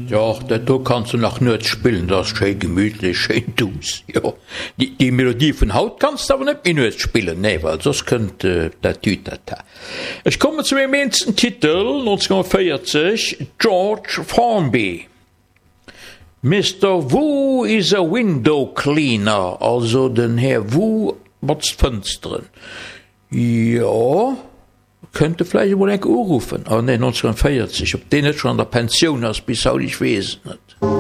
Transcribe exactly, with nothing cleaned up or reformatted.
Jo, dat do kanns du nach nuets spillen, dat ass schéi gemütlech, schéin duuss, jo. Déi, déi Melodie vun haut kanns de awer net méi nuets spillen, nee, well soss kënnt dat Tütata. Ech kommen zu mengem eenzesten Titel, neunzehnhundertvéierzeg, George Formby. Mister Wu is a window cleaner, also den Här Wu botzt Fënsteren. Jo, kënnt e vläicht emol enk uruffen. Oh nee, neunzehnhundertvéierzeg, ob deen net schonn an der Pensioun ass bis haut, ech weess et net.